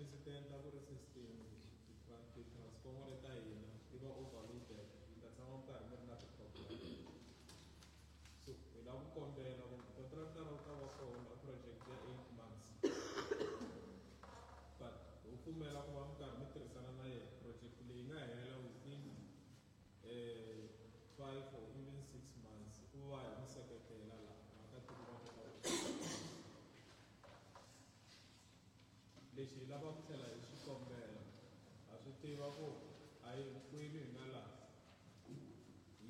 ti-SMEs ti endla ku ri system ti-transformer ta hina ti va overloaded, mi ta tshama mi karhi mi ri na ti-problem. So hi lava ku kombela ku contractor wu ta va kona project ya 8 months, but ho pfumela ku va mi karhi mi tirhisana na yena, project leyi nga hela within 5 or even 6 months, ku va hi mi seketela laha vaakatiko va kota ku. Lexi hi lava ku tlhela hi swi kombela, ha swi tiva ku a hi hinkwenu hi nga laha hi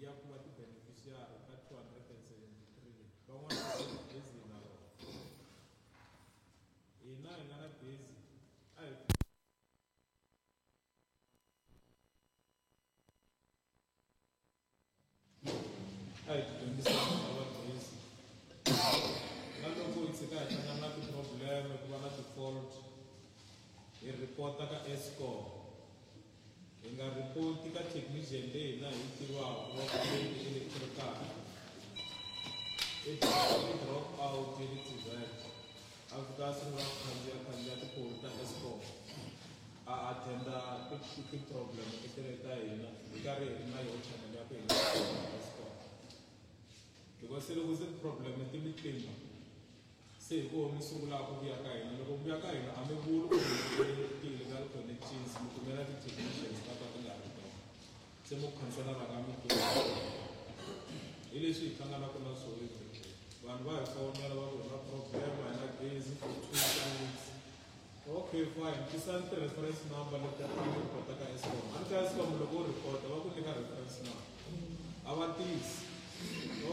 ya ku va ti-beneficiary ka 273 leti. Van'wana va gezi na rona, hina hi nga na gezi a hi tidyondziseni va gezi, na loko hi tshika hi hlangana na ti-problem, ku va na ti-fault, hi report-a ka Eskom. Hi nga report-i ka technician leyi hina hi tivaka wa ku leyi electrical i drop out ya le TVET, a fika a sungula ku khandziya khandziya tipholi ta Eskom, a attenda ti-problem leti ta hina, hi karhi hi ri na yoho channel ya ku hi nga Eskom, because se loko se ti-problem ti mi tlimba, se hi koho mi sungulaka ku vuya ka hina. Loko mi vuya ka hina, a mi vuli ku ti-illegal connections, mi kumela ti-technicians ta ka ti nga ri tona, se mu khansela nga mi pfuna. Hi leswi hi hlanganaka na swona everyday. Vanhu va hi fonela va ku hi na problem, a hi na gezi for 2 weeks. Okay, fine, tisani ti-reference number leti a mi report-a ka Eskom. A ni ka Eskom, loko u report-a va ku nyika reference number, a va tisi.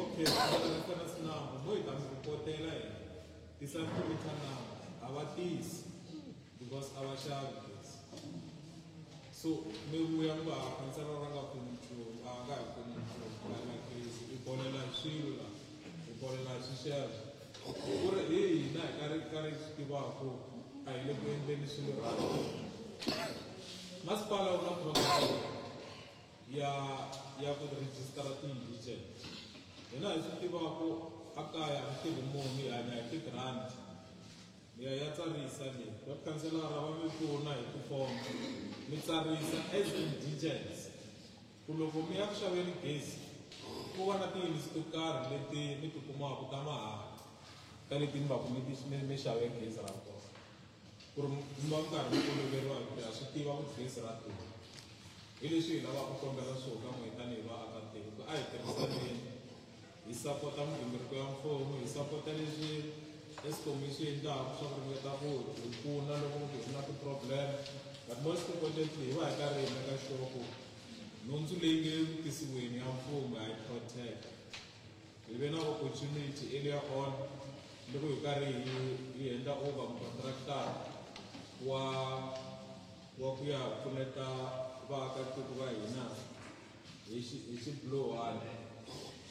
Okay, reference number mo hi ta mi report-ela hina, tisani ti-meter number, a va tisi because a va xavi gezi. So mi vuya mi va khansela ra nga pfuni nchumu, a nga hi pfuni nchumu, a na gezi, hi bolela hi swilo la, hi bolela hi swixevo, ku ri hi hina hi karhi karhi swi tivaka a hi le ku endleni swilo right. Masipala wu na program ya ku rejistara ti-indigent. Hina hi swi tivaka a kaya a tirhi munhu, hi hanya hi ti-grant. Mi ya ya tsarisa leyi, va khanselara va mi pfuna hi tifomo, mi tsarisa as indigents, ku loko mi ya ku xaveni gezi, ku va na tiyunits to karhi leti mi ti kumaka ta mahala ka leti mi va ku mi xave gezi ra kona, ku ri mi va mi karhi mi oloveriwa, hi ku ha swi tiva ku gezi ra durha. Hi leswi hi lavaka ku kombela swona ka n'wina tanihi vaakatiko, ku a hi tirhisaneni, hi sapota migingiriko ya mfumo, hi sapota leswi Eskom yi swi endlaka swa ku ringeta ku hi pfuna loko ku hi na ti-problem. But most importantly, hi va hi karhi hi meka sure ku nhundzu leyi nge ku tisiweni ya mfumo ha yi protect. Hi ve na opportunity earlier on loko hi karhi hi endla over contractor wa ku ya pfuneta vaakatiko va hina hi xibulohani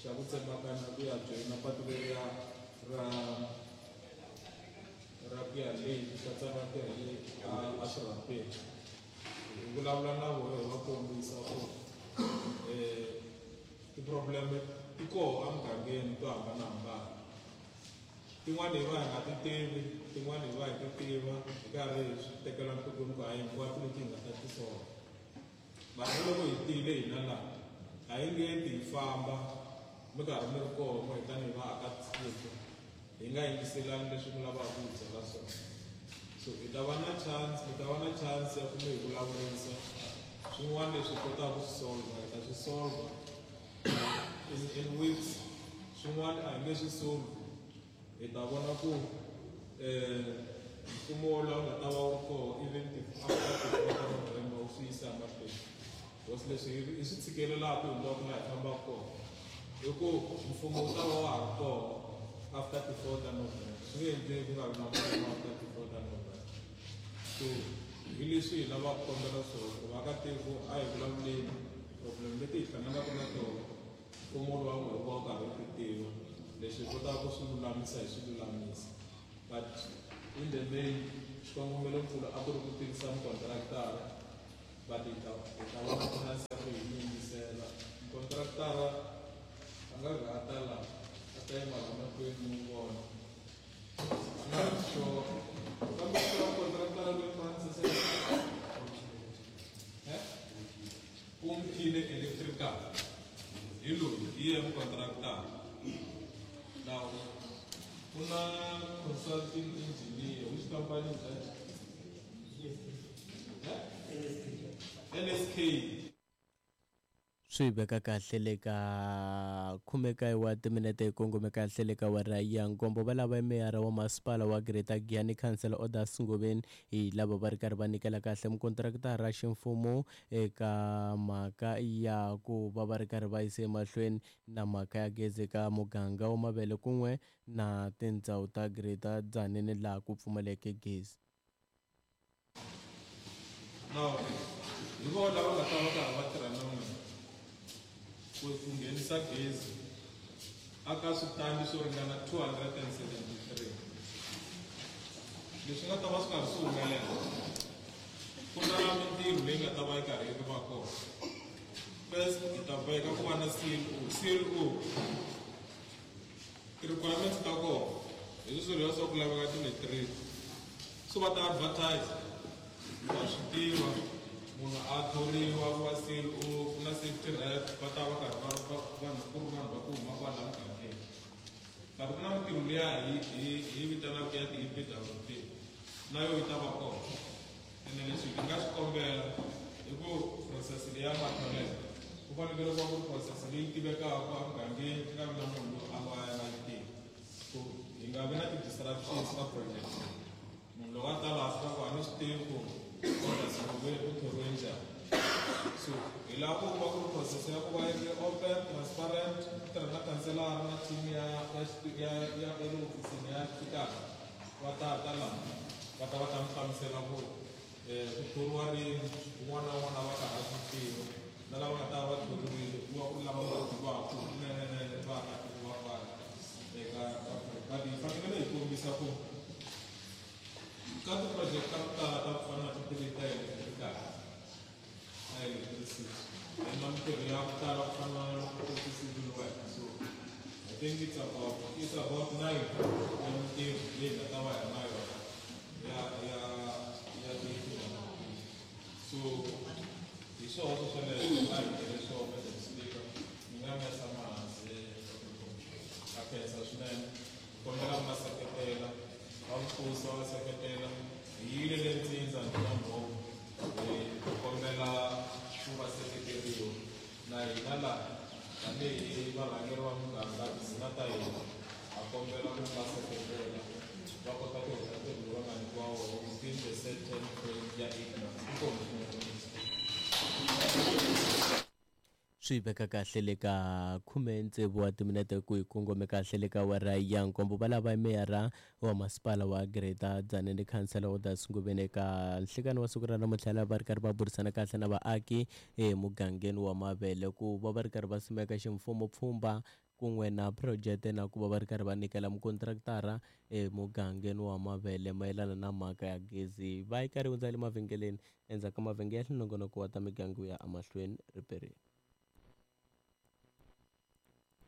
xa ku tsemakanya ku ya joyina patu leriya ra ku ya le katsa vatirhi le a swirhapeni. Hi vulavula na vona, hi va kombisa ku ti-problem ti koho emugangeni to hambanahambana. Tin'wani hi va hi nga ti tivi, tin'wani hi va hi ti tiva, hi karhi hi swi tekela nhlokweni ku a hi hinkwato leti hi nga ta ti solva. Mara loko hi tile hina laha, a hi nge ti hi famba mi karhi mi ri koho n'we tanihi vaakatiko, hi nga yingiselani leswi mi lavaka ku hi byela swona. So hi ta va na chance, mi ta va na chance ya ku mi hi vulavurisa. Swin'wana leswi hi kotaka ku swi solva, hi ta swi solva in weeks. Swin'wana a hi nge swi solve, hi ta vona ku mfumo lowu nga ta va wu ri koho even after ti-4 ta November wu swi yisa mahlweni, because leswi hi swi tshikelelaka hinkwako laha hi fambaka kona i ku mfumo wu ta va wa ha ri koho after ti-4 ta November. Swi nge endleki ku nga vi na mfumo after ti-4 ta November. So hi leswi hi lavaka ku kombela swona, ku vaakatiko a hi vulavuleni problem leti hi hlanganaka na tona, mfumo lowu wa n'we wu va wu karhi wu ti tiva. Leswi hi kotaka ku swi lulamisa, hi swi lulamisa. But in the main, xikongomelonkulu a ku ri ku tivisa mukontraktara, but hi ta va na chance ya ku hi yingisela. Mukontraktara a nga gata laha, a ta yima la mahlweni mi n'wi vona. Not sure, kambe swa kontraktara loyi Francis. Umphile Electrical hi loyi hi yena mukontraktara. Now ku na consulting engineer, which company is that? LSK. Swi veka kahle le ka 19 wa timinete hi kongome kahle le ka awara ya nkombo. Va lava meyara wa masipala wa Greater Giyani Councillor Odas Ngobeni hi lava va ri karhi va nyikela kahle mukontraktara ximfumo eka mhaka ya ku va va ri karhi va yisa emahlweni na mhaka ya gezi eka muganga wa Mavele kun'we na tindhawu ta Greater Tzaneen laha ku pfumaleke gezi. Now, hi vona lava nga ta va karhi va tirha na n'wina ku nghenisa gezi aka switandi swo ringana 273. Leswi nga ta va swi karhi swi humelela, ku na mintirho leyi nga ta va yi karhi yi va kona. First, hi ta boheka ku va na CLO. CLO ti-requirements ta kona hi swilo leswaku ku laveka ti-matric, so va ta advertise, wa swi tiva, munhu a thoriwa ku va CLO. Ku na safety rep, va ta va karhi va vanhu ku ri vanhu va ku huma kwala mugangeni. But ku na mintirho liya hi vitanaka ya ti-EPWP, na yo yi ta va kona. Ene leswi hi nga swi kombela i ku process leya matholelo ku fanekele ku va ku ri process leyi tivekaka emugangeni, ku nga vi na munhu loyi a va ya nga yi tivi, ku hi nga vi na ti-disruptions ka project. Munhu loko a ta laha fika ku a ni swi tivi ku Odas Ngobeni u thoriwe njhani. So hi lava ku va ku ri process ya ku va yi ri open, transparent, ku tirha na kanselara na team ya ya ya ya ya le hofisini ya xipikara. Va ta ta laha va ta va ta mi hlamusela ku ku thoriwa rini, un'wana na un'wana a va karhi a swi tiva, na lava nga ta va thoriwile ku va ku ri lava va tivaka kunenenene vaakatiko va kwala eka. But hi fanekele hi kombisa ku ka ti-project ta ku tala ta ku fana na ti ta electrical na electricity hi na mintirho ya ku tala ku fana na ti-civil work. So I think it's about 9 ya mintirho leyi nga ta va hi ri na yona ya ti. So hi swona swo sweleswo a hi tirhe swona. Madam Speaker, ni nga mi ya tshama hansi. A khensa swinene, kombela ku ma seketela, va mfuso va seketela. Hi yile le Ntsindza na Mbhovo, hi kombela ku va seketeriwa na hina laha tanihi varhangeri va muganga, tindhuna ta hina. Ha kombela ku va seketela va kota ku heta ntirho lowu va nga nyikiwa wona within the set time frame ya 8 months. Inkomu swinene. Swi veka kahle le ka 16 wa timinete ku hi kongome kahle le ka awara ya nkombo. Va lava meyara wa masipala wa Greater Tzaneen, Councillor Odas Ngobeni, eka nhlikani wa siku ra namuntlha lava va ri karhi va burisana kahle na vaaki emugangeni wa Mavele ku va va ri karhi va simeka ximfumo pfhumba kun'we na phurojete na ku va va ri karhi va nyikela mukontraktara emugangeni wa Mavele mayelana na mhaka ya gezi. Va yi karhi hundza le mavhengeleni, endzhaku ka mavhengele nongonoko wa ta migangu ya emahlweni riperini.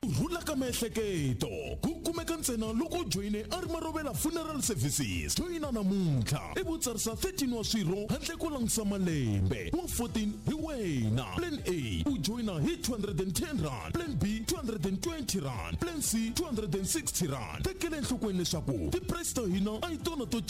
Ku rhula ka miehleketo ku kumeka ntsena loko u joyine a ri Marovela Funeral Services. Joyina namuntlha ivi u tsarisa 13 wa swirho handle ko langutisa malembe. Wa 14 hi wena. Plan A, u joyina hi R210. Plan B, R220. Plan C, R260. Tekela enhlokweni leswaku ti-price ta hina a hi tona to.